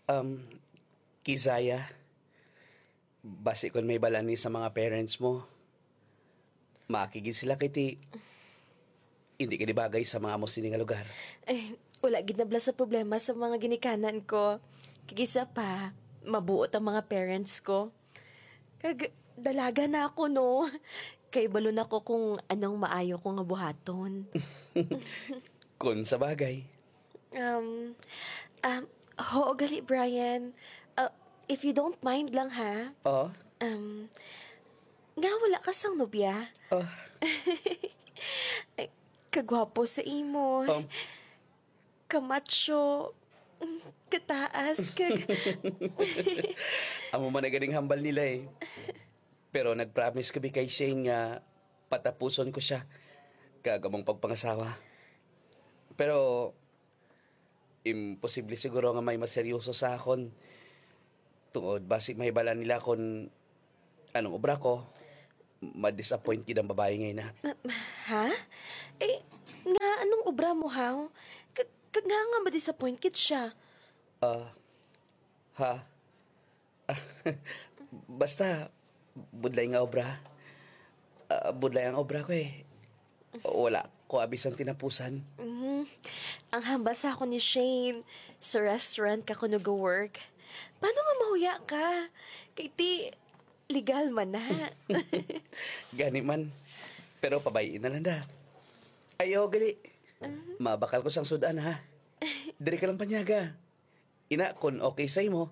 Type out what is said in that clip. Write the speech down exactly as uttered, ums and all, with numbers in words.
Um, Kizaya, basi kon may balani sa mga parents mo, maakigid sila kay ti hindi ka di bagay sa mga amo sini nga lugar. Eh, wala gid nabla sa problema sa mga ginikanan ko. Kag isa pa, mabuot ang mga parents ko. Kag dalaga na ako, no? Kay balo na ko kung anong maayo ko nga buhaton. Kung sa bagay. Um, um, hoo gali, Brian. Uh, if you don't mind lang, ha? Oh? Um, nga wala ka sang nobya? Oh. Ay, kagwapo sa imo. Um. Kamacho. Kataas. Kag... Amo man na ganing hambal nila eh. Pero nag-promise kami kay Shane nga patapuson ko siya kag among pagpangasawa. Pero imposible siguro nga may maseryoso sa akon. Tungod basi mahibalaan nila kon anong obra ko, ma-disappoint gid ang babae nga ina. Ha? Eh, nga anong obra mo, haw? Kag, kag nga nga ma-disappoint gid siya? Ah, ha? Basta, budlay nga obra. Ah, budlay ang obra ko eh. Wala ko abi sang tinapusan. Mhm. Ang hambal sa ako ni Shane, sa restaurant ka kuno go-work. Paano nga mahuya ka? Kay ti, legal man na. Gani man. Pero pabay-i na lang da. Ayaw gali. Mabakal ko sang sudan ha. Diri ka lang panyaga. Ina, kung okay sa imo,